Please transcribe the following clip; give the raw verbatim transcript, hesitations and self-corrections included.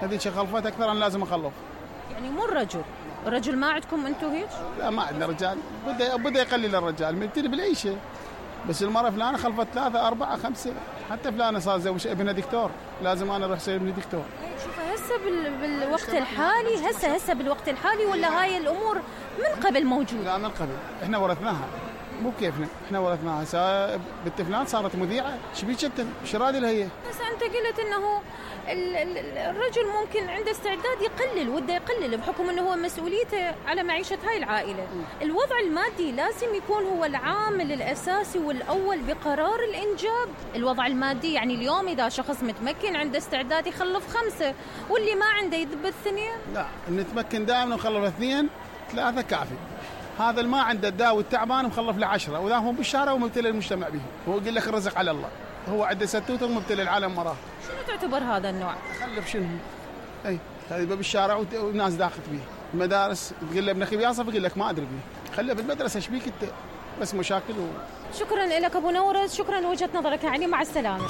هذيك خلفت اكثر انا لازم اخلف. يعني مو الرجل، الرجل ما عندكم انتم هيك؟ لا ما عندنا رجال، بدا بدا يقلل الرجال مبتدي بالعيشه، بس المرة فلانة خلفت ثلاثة أربعة خمسة، حتى فلانة صار زوج ابنها دكتور، لازم أنا أروح أسوي ابني دكتور. شوف هسه بالوقت الحالي، هسه هسه بالوقت الحالي ولا هاي الأمور من قبل موجودة؟ لا من قبل، إحنا ورثناها، مو كيفنا، إحنا ورثناها. هسه بنت فلان صارت مذيعة، شبيك أنت؟ شو رادي لها هي؟ بس أنت قلت إنه الرجل ممكن عنده استعداد يقلل، وده يقلل بحكم إنه هو مسؤوليته على معيشة هاي العائلة. الوضع المادي لازم يكون هو العامل الأساسي والأول بقرار الإنجاب. الوضع المادي يعني اليوم إذا شخص متمكن عنده استعداد يخلف خمسة واللي ما عنده يذب اثنين. لا نتمكن دائما ونخلف اثنين ثلاثة كافي. هذا اللي ما عنده الداوي التعبان مخلف له عشرة، وذا هم بالشارع ومبتلى المجتمع به. هو يقول لك الرزق على الله، هو عنده ستوته ومبتلى العالم مراه. شنو تعتبر هذا النوع؟ خلف شنو؟ اي هذا بالشارع والناس داخل فيه. المدارس تقول له ابن اخي بيصف يقول لك ما ادري بيه. خليه بالمدرسه ايش بيك انت؟ بس مشاكل و... شكرا لك ابو نورس، شكرا لوجهه نظرك. يعني مع السلامه.